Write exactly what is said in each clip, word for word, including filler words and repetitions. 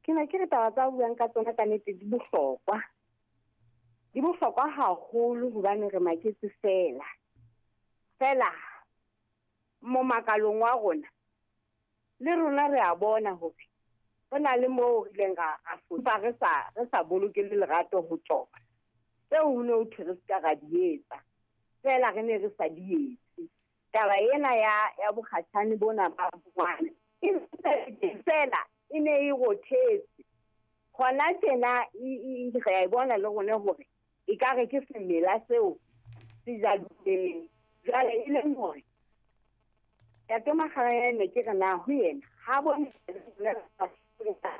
Ke ne ke re taba tsa buang ka tsona ka nnete di bohlokwa. Di bohlokwa haholo hobane re maketse fela. Fela mo makalong wa rona le rona re a bona hore re na le moo re ileng ra ra re sa re sa boloke le lerato ho tsona. Tseo ho ne ho thwe re ska ra di etsa. Fela re ne re sa di etse. Taba ena ya ya bokgatjhane bona ba ngwana e fela e ne e rothetse. Hona tjena e re a e bona le rona hore e ka re ke semela seo se jadileng. Jwale e leng hore Ntate Makgalanyane ke re na ho yena ha bone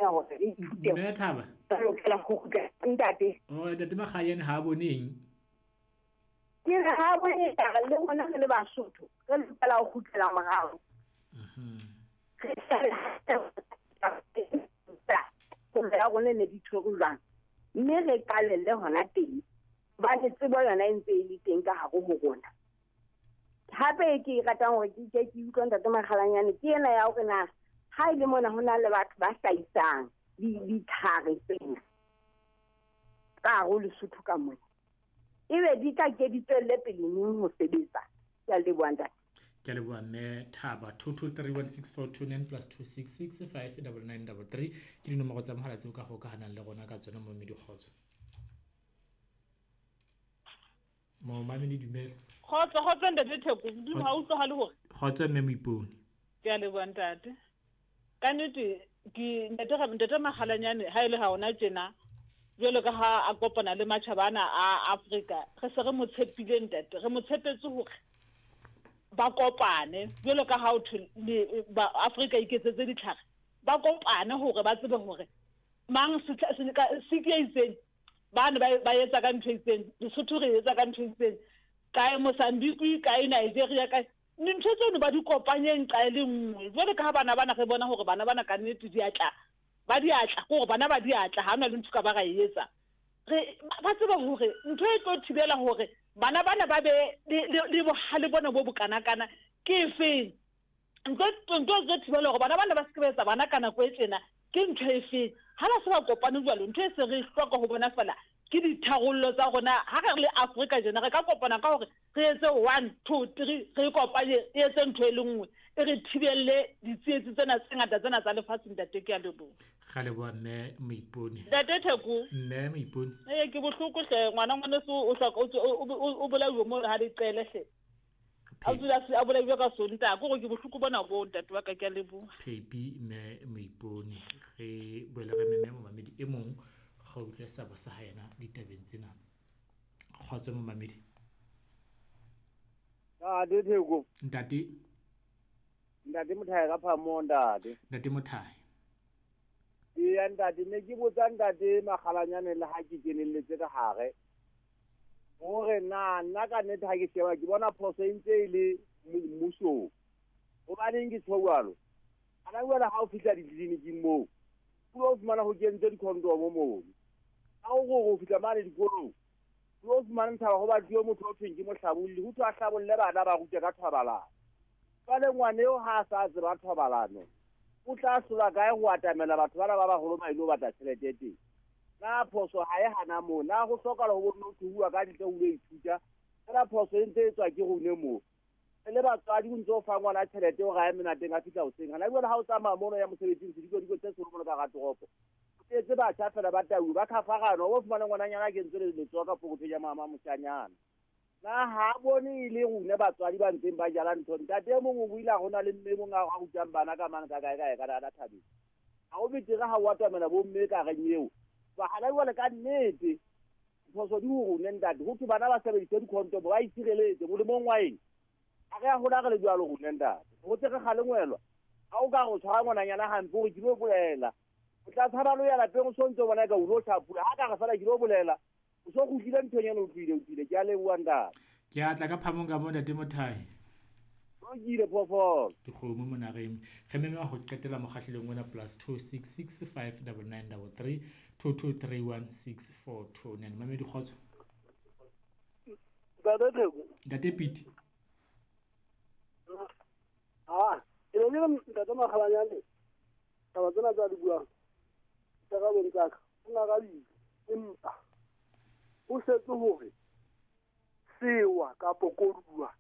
hore re ithute. Mme Thaba. Re lokela ho kgutla ntate. Oh, Ntate Makgalanyane ha bone eng? Ke re ha bone taba le rona re le Basotho re lokela ho kgutlela morao. Mhm. Re ya rona ne di tshwerwe jwang, mme re qalelle hona teng hobane tsebo yona e ntse e le teng ka hare ho rona. Hape ke ratang hore ke ke ke utlwa Ntate Makgalanyane ke ena ya hore na ha ile mona ho na le batho ba hlahisang ditlhare tsena ka hare ho Lesotho ka mona, ebe di tla ke di tswelle pele neng ho sebetsa. Ke a leboha ntate. Ke a leboha mme Thaba. Two two three one six four two nine plus two six six five double nine double three ke dinomoro tsa mohala tseo ka hokahanang le rona ka tsona mo Mmedi Kgotso. Mo mamedi dumela. Kgotso, kgotso ntate Theko, modimo ha utlwahale hore. Kgotso mme Moipone. Ke a leboha ntate. Ka nnete ke ntate ntate Makgalanyane ha ile ha ona tjena jwalo ka ha a kopana le matjhaba ana a Afrika, re se re mo tshepile ntate, re mo tshepetse hore ba kopane jwalo ka ha o thwe ba Afrika iketsetse ditlhare, ba kopane hore ba tsebe hore mang se se ke itseng ba ne ba etsa ka ntho itseng, Lesotho re etsa ka ntho itseng, kae Mozambique, kae Nigeria, kae dintho tseno ba di kopanyeng ka e le nngwe. Jwale ka ha bana bana re bona hore bana bana ka nnete di atla, ba di atla ke hore bana ba di atla, ha hona le ntho ka ba ra e etsa. Re ba tseba hore ntho e tlo thibela hore bana bana ba be le bohale bona bo bokanakana ke efeng, ntho ntho e tlo thibela hore bana bana ba se ke ba etsa bana ka nako e tjena ke ntho efe. Ha ba se ba kopane jwalo, ntho e se re hloka ho bona fela ke ditharollo tsa rona. Ha re le Afrika jena re ka kopana ka hore re etse one two three, re kopanye e etse ntho e le nngwe e re thibelle ditsietsi tsena tse ngata tsena tsa lefatshe. Ntate ke a leboha. Ga leboha mme Moipone. Ntate Theko. Mme Moipone. Eh ke bohloko hle ngwana ngwaneso o hloka o bolauwe mo ha di qele hle. A dula a bolauwe ka Sontaha, ke hore ke bohloko bona bo ntate wa ka, ke a leboha. Phepi mme Moipone. Re boele re meme momamedi e mong ga utlwe sabo sa ha yena ditabeng tsena. Kgotso momamedi. Ntate Theko. Ntate. Ntate Mothae ka phamo ntate. Ntate Mothae. Eya ntate, ne ke botsa ntate Makgalanyane le ha ke kenelletse ka hare. Hore na nna ka nnete ha ke sheba ke bona phoso e ntse e le mmusong. Hobaneng ke tjho jwalo? Ana jwale ha o fihla ditleliniking moo, o lo fumana ho kentswe di-condom moo. Ha o re o fihla mane dikolong, o lo fumana ntaba ho batluwe motho o thweng ke mohlabolli, ho thwe a hlabolle bana ba rute ka thobalano. Jwale ngwana eo ha a sa tseba thobalano, o tla hlola kae ho atamela batho bana ba baholo ba ilo batla tjhelete teng? Na phoso ha e hana moo, na ho hlokahala ho bonno ho bua ka ntle ho lo ithuta? Fela phoso e ntse e tswa ke rone moo. Le batswadi o ntse o fa ngwana tjhelete hore a ye menateng a fihla hoseng. Hana jwale ha o tsamaya mono ya mosebetsing sediko-diko tse seholo mono ka hara toropo, o tletse batjha fela ba tauwe ba khafarana, o bo fumana ngwananyana a kentswe letsoho ka pokothong ya mama moshanyana. Na ha bone e le rona batswadi ba ntseng ba jala ntho. Ntate e mong o buile ha hona le mme e mong a rutang bana ka mane ka kae kae ka ka thabeng. Ha ho betere ha o atamela bo mme ka reng eo. Ba hana jwale ka nnete phoso di ho rona ntate. Ho thwe bana ba sebedise di-condom ba itshireletse molemong wa eng? Ha re a hola re le jwalo rona ntate. Ho tse re kgalengwelwa. Ha o ka re o tshwara ngwananyana hampe hore ke lo bolela, o tla tshaba lo ya lapeng o so ntso bona eka o lo hlapula. Ha ka re fela ke lo bolela, o so kgutlile nthong ena o tlohile o tlile. Ke a leboha ntate. Ke a tla ka phamong ka mo ntate Mothae. Lokile phoofolo. Dikgomo mona re eme. Re mema ho qetela mokgahlelong ona plus two six six five double nine double three two two three one six four two nine. Mamedi kgotso. Ntate Theko. Ntate Pete. Ah, ke ne ke ntate Makgalanyane taba tsena tsa di buang. Karabong tsa ka o ngarabile empa o setse hore sewa kapo koduwa